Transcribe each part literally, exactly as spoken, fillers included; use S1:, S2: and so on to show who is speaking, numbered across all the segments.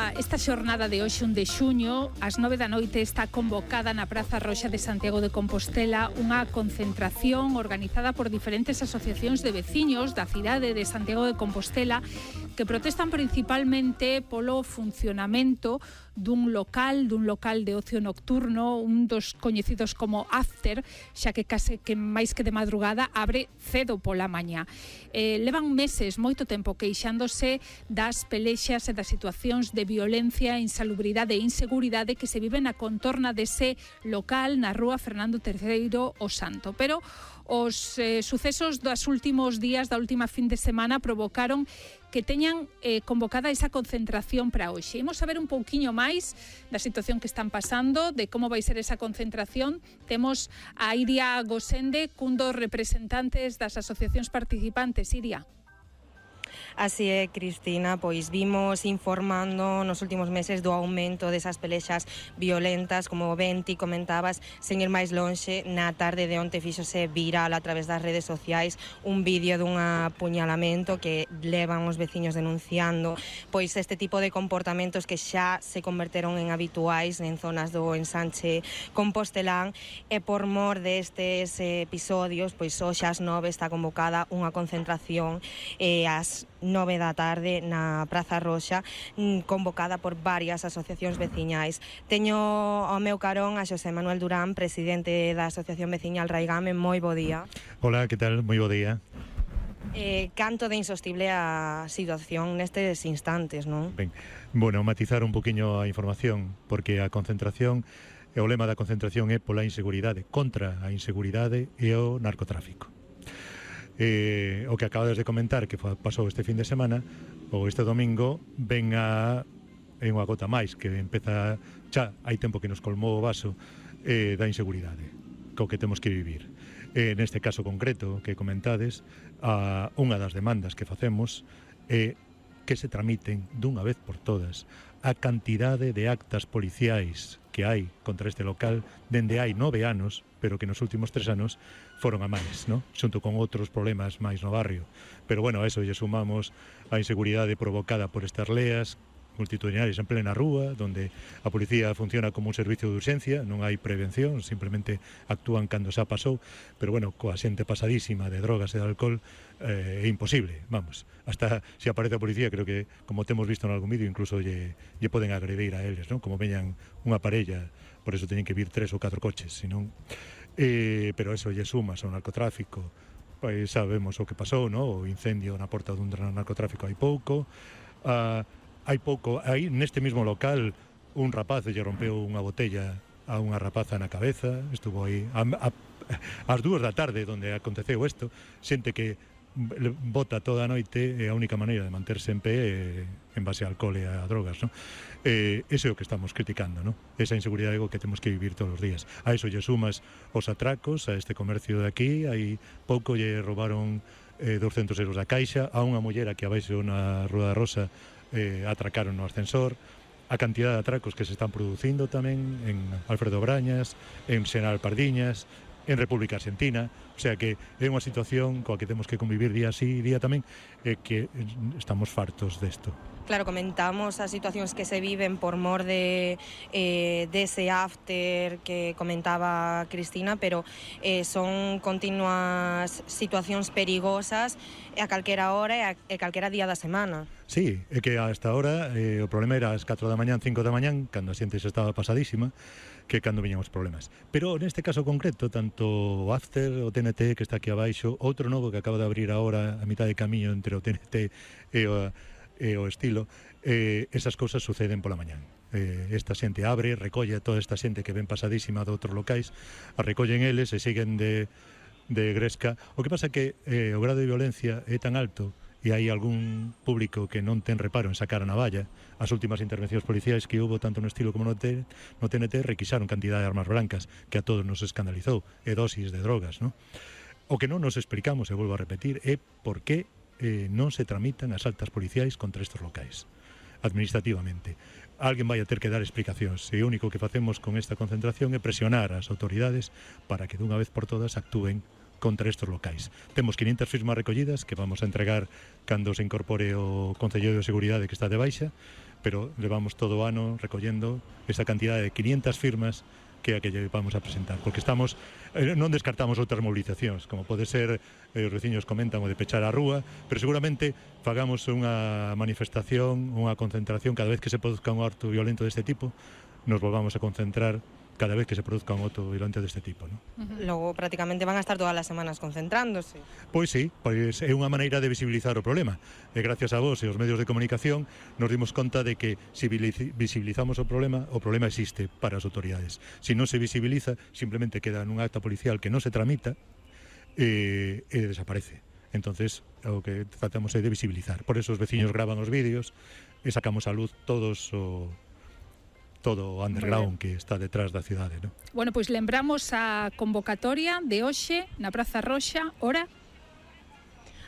S1: Esta, esta xornada de hoxe, un de xuño, ás nove da noite está convocada na Praza Roxa de Santiago de Compostela unha concentración organizada por diferentes asociacións de veciños da cidade de Santiago de Compostela que protestan principalmente polo funcionamento dun local, dun local de ocio nocturno, un dos coñecidos como After, xa que case que máis que de madrugada abre cedo pola mañá. Eh, levan meses, moito tempo, queixándose das pelexas e das situacións de violencia, insalubridade e inseguridade que se viven na contorna dese local na rúa Fernando terceiro o Santo. Pero os eh, sucesos dos últimos días, da última fin de semana, provocaron que teñan eh, convocada esa concentración para hoxe. Imos saber un pouquiño máis da situación que están pasando, de como vai ser esa concentración. Temos a Iria Gosende, cun dos representantes das asociacións participantes. Iria.
S2: Así é, Cristina, pois vimos informando nos últimos meses do aumento desas pelexas violentas, como ben ti comentabas, sen ir máis lonxe. Na tarde de onte fíxose viral a través das redes sociais un vídeo dun apuñalamento que levan os veciños denunciando pois este tipo de comportamentos que xa se converteron en habituais en zonas do ensanche compostelán, e por mor destes episodios, pois hoxe ás nove está convocada unha concentración e ás nove da tarde na Praza Roxa, convocada por varias asociacións veciñais. Teño ao meu carón a Xosé Manuel Durán, presidente da Asociación Veciñal Raigame. Moi bo día.
S3: Hola, que tal? Moi bo día.
S2: Eh, canto de insostible a situación nestes instantes, non?
S3: Ben, bueno, matizar un poquinho a información, porque a concentración, e o lema da concentración é pola inseguridade, contra a inseguridade e o narcotráfico. Eh, o que acabades de comentar que pasou este fin de semana ou este domingo ven a é unha gota máis que empeza xa hai tempo que nos colmou o vaso eh, da inseguridade co que temos que vivir. Eh, neste caso concreto que comentades, a, unha das demandas que facemos é que se tramiten dunha vez por todas a cantidade de actas policiais que hai contra este local dende hai nove anos, pero que nos últimos tres anos foron a máis, ¿no? Xunto con outros problemas máis no barrio. Pero bueno, a eso lle sumamos a inseguridade provocada por estas leas multitudinarias en plena rúa, donde a policía funciona como un servicio de urxencia, non hai prevención, simplemente actúan cando xa pasou, pero bueno, coa xente pasadísima de drogas e de alcohol eh, é imposible, vamos, hasta se aparece a policía, creo que, como temos visto en algún vídeo, incluso lle, lle poden agredir a eles, ¿no? Como veñan unha parella, por eso teñen que vir tres ou catro coches, senón, eh, pero eso lle sumas ao narcotráfico, pois sabemos o que pasou, ¿no? O incendio na porta dun narcotráfico hai pouco, a uh, hai pouco, aí neste mesmo local un rapaz lle rompeu unha botella a unha rapaza na cabeza, estuvo aí a, a, ás dúas da tarde onde aconteceu isto, xente que bota toda a noite e a única maneira de manterse en pé é en base a alcohol e a drogas, ¿no? Eh, ese é o que estamos criticando, ¿no? Esa inseguridade é o que temos que vivir todos os días. A eso lle sumas os atracos a este comercio de aquí, aí pouco lle roubaron eh, doscientos euros da caixa a unha mullera que abaixo na Rúa da Rosa Eh, atracaron no ascensor, a cantidad de atracos que se están producindo tamén en Alfredo Brañas, en Xeral Pardiñas, en República Argentina, o sea que é unha situación coa que temos que convivir día así, día tamén, e que estamos fartos desto.
S2: Claro, comentamos as situacións que se viven por mor de eh, dese after que comentaba Cristina, pero eh, son continuas situacións perigosas a calquera hora e a, e calquera día da semana.
S3: Sí, é que hasta ahora eh, o problema era as catro da mañán, cinco da mañán, cando a xente xa estaba pasadísima, que cando viñan os problemas. Pero neste caso concreto, tanto o After, o T N T que está aquí abaixo, outro novo que acaba de abrir agora a mitad de camiño entre o T N T e o e o estilo, eh, esas cousas suceden pola mañán. Eh, esta xente abre, recolle a toda esta xente que ven pasadísima de outros locais, a recollen eles e siguen de, de gresca. O que pasa é que eh, o grado de violencia é tan alto e hai algún público que non ten reparo en sacar a navalla. As últimas intervencións policiais que hubo tanto no estilo como no, T, no T N T requisaron cantidad de armas blancas que a todos nos escandalizou, e dosis de drogas, ¿no? O que non nos explicamos, e volvo a repetir, é por que eh, non se tramitan as altas policiais contra estes locais administrativamente. Alguén vai a ter que dar explicacións, e o único que facemos con esta concentración é presionar as autoridades para que dunha vez por todas actúen contra estes locais. Temos quinientas firmas recollidas que vamos a entregar cando se incorpore o Concello de Seguridade que está de baixa, pero levamos todo o ano recollendo esa cantidad de quinientas firmas que a que lle vamos a presentar, porque estamos eh, non descartamos outras movilizacións, como pode ser, eh, os veciños comentan, o de pechar a rúa, pero seguramente fagamos unha manifestación, unha concentración cada vez que se produzca un acto violento deste tipo, nos volvamos a concentrar cada vez que se produzca un acto violento deste tipo, ¿no?
S2: Uh-huh. Logo, prácticamente van a estar todas as semanas concentrándose.
S3: Pois sí, pois é unha maneira de visibilizar o problema. E gracias a vos e os medios de comunicación nos dimos conta de que se visibilizamos o problema, o problema existe para as autoridades. Se non se visibiliza, simplemente queda nun acta policial que non se tramita e, e desaparece. Entonces, o que tratamos é de visibilizar. Por eso os veciños graban os vídeos e sacamos a luz todos o todo o underground que está detrás da cidade, ¿no?
S1: Bueno, pois lembramos a convocatoria de hoxe na Praza Roxa, hora?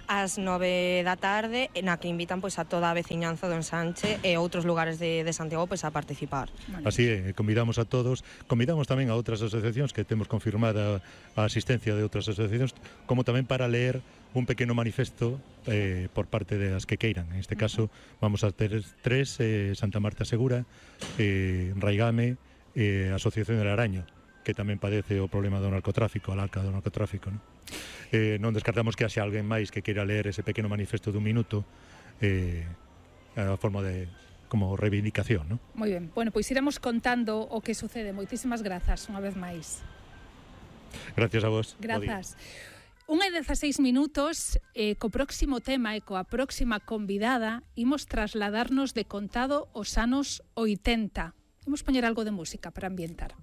S2: Ás nove da tarde, na que invitan pois a toda a veciñanza do Ensanche e outros lugares de, de Santiago pois a participar.
S1: Bueno.
S3: Así é, convidamos a todos, convidamos tamén a outras asociacións que temos confirmada a asistencia de outras asociacións, como tamén para ler un pequeno manifesto eh, por parte das que queiran. En este caso vamos a ter tres, eh, Santa Marta Segura, eh, Raigame e eh, Asociación del Araño, que tamén padece o problema do narcotráfico, a larca do narcotráfico, ¿no? Eh, non descartamos que haxe alguén máis que queira ler ese pequeno manifesto dun minuto eh, a forma de como reivindicación, ¿no?
S1: Moi ben, bueno, pois iremos contando o que sucede. Moitísimas grazas unha vez máis.
S3: Gracias a vos.
S1: Grazas. Unha e dezaseis minutos, eh, co próximo tema e coa próxima convidada imos trasladarnos de contado os anos oitenta. Imos poñer algo de música para ambientar.